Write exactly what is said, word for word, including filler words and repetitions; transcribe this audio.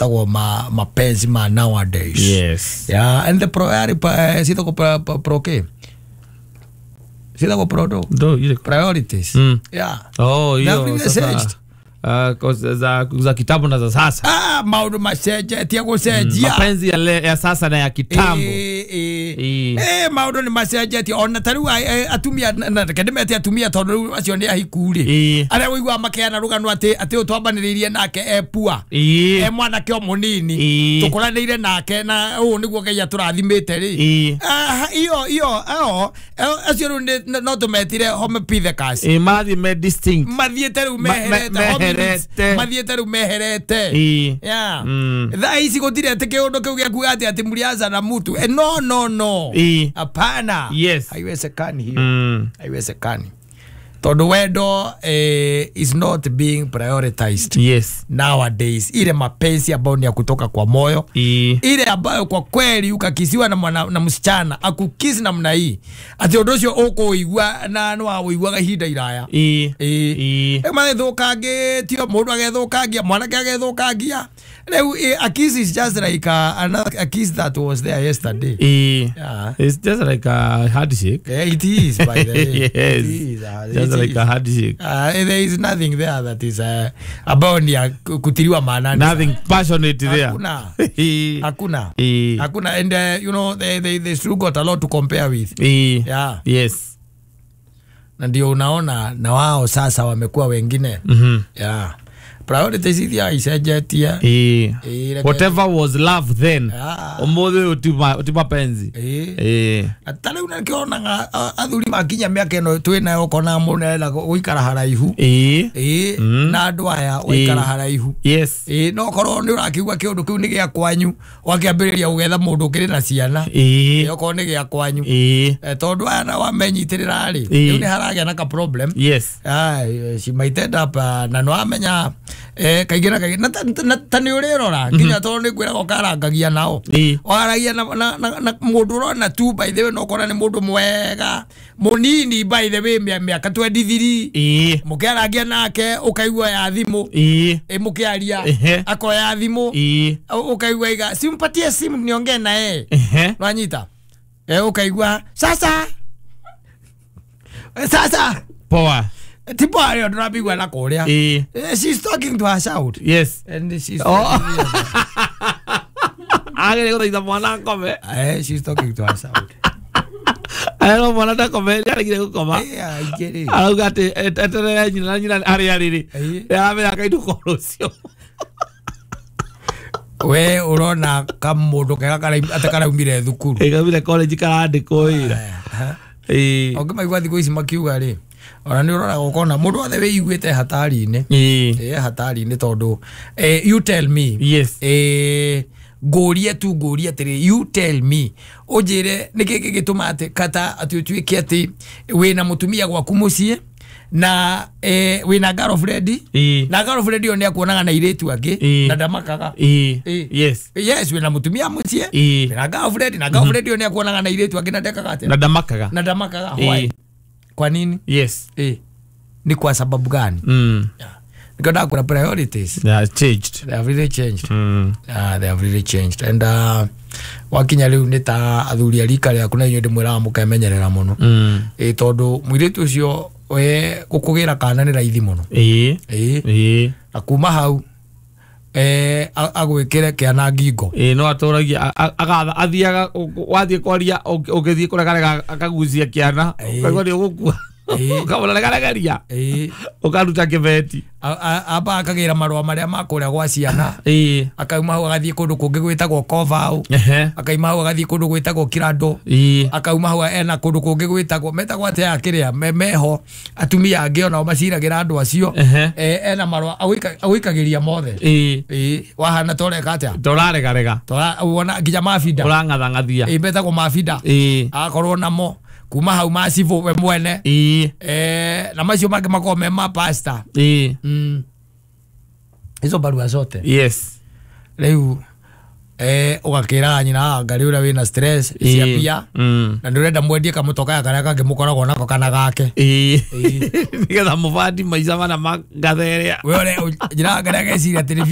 metagwo ma mapenzi ma nowadays. Yes. Yeah, and the pro eh, citagwo pro, pro, pro ke citagwo pro do Do ile priorities. Mm. Yeah. Oh, They have hiyo really sasa. changed. Uh, 'cause za za kitambo na za sasa. Ah, maundu macenjetie gucenjia. Mapenzi ya, le, ya sasa na ya kitambo. Eh, eh. Ĩĩ. Eh, maundu ni macenjetie ona ta riu atumia na reke ndimete atumia tondu riu acio ni ahiku ri Ĩĩ. aria wĩiguaga makeana rũgano atĩ atĩ ũyũ twambanĩrĩirie nake e pua Ĩĩ. e mwanake o mũnini Ĩĩ. tũkũranĩire nake na ũũ nĩguo Ngai atũrathimĩte rĩ. Ĩĩ. Ah, iyo iyo ao acio rĩu nĩ- no tũmetire Homopithecus. Ĩĩ, marathiĩ me distinct. Mathiĩte rĩu Ma- me- meherete hominids. meherete. Mathiĩte rĩu meherete. Ĩĩ. Yeah. Mm. Thaa ici gũtirĩ atĩ kĩũndũ kĩu gĩa kuga atĩ atĩ mlianza na mtu. Eh, no no no. Ĩĩ. Hapana. Yes. Haiwezekani hiyo. Mm. Haiwezekani. Tondu wendo eh, is not being prioritized Yes. nowadays. Ile mapenzi ambayo ni ya kutoka kwa moyo, Ĩĩ. ile ambayo kwa kweli ukakisiwa na mwana, na msichana akukisi namna hii ati undu ucio ukuigua na no awiguaga ihinda iraya. Ĩĩ. Ĩĩ. Ĩĩ. Rĩu magĩthũkangĩtio mũndũ agethũkangia mwanake agethũkangia rĩu eh, a kiss is just like a, another a kiss that was there yesterday. Ĩĩ. Yeah. It's just like a handshake. Yeah, it is, by the way. Yes. It is, uh, Just it like is. a handshake. Uh, there is nothing there that is uh, ambayo ni ya kutiliwa maanani. Nothing passionate there. Hakuna. Ĩĩ. Hakuna. Ĩĩ. Hakuna. And uh, you know they, they, they still got a lot to compare with. Ĩĩ. Yeah. Yes. Na ndio unaona na wao sasa wamekuwa wengine. Mhm. Yeah. Priorities iria icenjetie. Ĩĩ. Ĩĩ, reke- Whatever was love then. Ah. Ũmũthĩ ũyũ ti ma- ti mapenzi. Ĩĩ. Ĩĩ. Na ta rĩu nakĩonaga athuri makinya mĩaka ĩno twĩ nayo ũkona mũndũ arenda gũikara haraihu. Ĩĩ. Ĩĩ, Mm. na andũ aya gũikara Ĩĩ. haraihu. Yes. Ĩĩ, no korwo nĩ ũrakiuga kĩũndũ kĩu nĩ gĩa kwanyu wakĩambĩrĩria gũgetha mũndũ ũkĩrĩ na ciana. Ĩĩ. Ĩĩ, okorwo nĩ gĩa kwanyu. Ĩĩ. Eh, tondũ aya na wamenyitĩrĩra rĩ Ĩĩ. rĩu nĩ haragĩa na ka problem. Yes. Ai, she might end up uh, na no amenya eh, kaingĩ na kaingĩ na ta- na ta nĩ ũrĩrora nginya tondũ nĩ kwĩraga ũkarangagia nao. Ĩĩ. Waragia na, na, na, na mũndũ ũrona tu by the way no ũkona nĩ mũndũ mwega mũnini by the way mĩa- mĩaka twenty-three. Ĩĩ. Mũkĩarangia nake ũkaigua ya thimũ. Ĩĩ. Ĩ mũkĩaria Ehe. akoya thimũ. Ĩĩ. Ũkaigua iga simpatie simu niongee na yeye. Ehe. Nwanyita eh, ũkaigua sasa. Eh, sasa Poa. tipo arĩa ndũrambigua na kũrĩa. Ĩĩ. Eh, she's talking to her child. Yes. And she's Oh. Agere gũthaitha mwana akome. Eh, she's talking to her child. Arero mwana ndakome, nĩaregire gũkoma. Eh, aingĩ rĩ. Arauga atĩ eterere nyina na nyina harĩa arĩ rĩ. Ĩĩ. Nĩaramenya akainũka rũciũ. We ũrona kamũndũ kega karaum- atĩ karaumire thukuru. Ĩĩ, kaumire college karandĩkwo wĩra. Ĩĩ. Ũngĩmaigua thikũ ici makiuga rĩ ona nĩ ũroraga ũkona mũndũ wothe wĩiguĩte hatari-inĩ. Ĩĩ. Ĩ hatari-inĩ tondũ eh, you tell me. Yes. Eh, ngũrie tu ngũrie atĩrĩ you tell me ũnjĩre nĩkĩ gĩgĩtũma atĩ kata atĩ ũtuĩke atĩ wĩna mũtumia gwaku mũciĩ na eh, wĩna girlfriend. Ĩĩ. Na girlfriend ĩyo nĩ akuonaga na airĩtu angĩ Ĩĩ. na ndamakaga. Ĩĩ. Ĩĩ. Yes. Yes, wĩna mũtumia mũciĩ Ĩĩ. wĩna girlfriend na girlfriend ĩyo nĩ akuonaga na airĩtu angĩ na ndekaga atĩa Na ndamakaga. na ndamakaga. Ĩĩ. Why? Kwa nini? Yes. Ĩĩ. Ni kwa sababu gani? Mm. Yeah. Nĩkĩo ndakũra priorities They have changed. they have really changed. Mm. Uh, they have really changed and uh, wakinya rĩu nĩ ta athuri a rika rĩaku na inyuĩ ndĩmwĩraga mũkemenyerera mũno. Mm. Ĩ tondũ mũirĩtu ũcio we gũkũgĩra kana nĩ raithi mũno. Ĩĩ. Ĩ Ĩĩ. na kuma hau eh, a- agwĩkĩre kĩana ngingo. Ĩĩ, no atũragia agatha athiaga wathiĩ kwaria ũgĩthiĩ kũregarega akagucia kĩana Ĩĩ. ũkaigua nĩ ũgũkua. Ĩĩ. Ũkamũra regaregaria Ĩ ũkaruta kĩbeti. a- a- amba akagĩra marũa marĩa ma kũrĩa gwa ciana. Ĩĩ. Akauma hau agathiĩ kũndũ kũngĩ gwĩtagwo Kovau. Ehe. Akauma hau agathiĩ kũndũ gwĩtagwo Kirando. Ĩĩ. Akauma hau ena kũndũ kũngĩ gwĩtagwo metagwo atĩa kĩrĩa me- meho atumia angĩ onao maciragĩra andũ acio. Ehe. Eh, ena marũa agwĩka- agwĩkagĩria mothe. Ĩĩ. Ĩ wahana toreka atĩa Tũraregarega. Tora wona nginya mabinda. Ũrang'athang'athia. Ĩ metagwo mabinda. Ĩĩ. Agakorwo namo kuma hau macibũ we mwene. Ĩĩ. Eh, na macio mangĩ makorwo me ma pastor. Ĩĩ. Mm. Hizo barua zote Yes. rĩu eh, ũgakĩraga nyina anga rĩ ũrĩa wĩna stress cia Ĩĩ. mbia Mm. na ndũrenda mwendie kamũtoka karĩa kangĩ mũkoragwo nako kana gake. Ĩĩ. Nĩgetha mũbandi maica mana ma ngathe ĩrĩa We ũrĩa nyina anga nĩageciria atĩ nĩ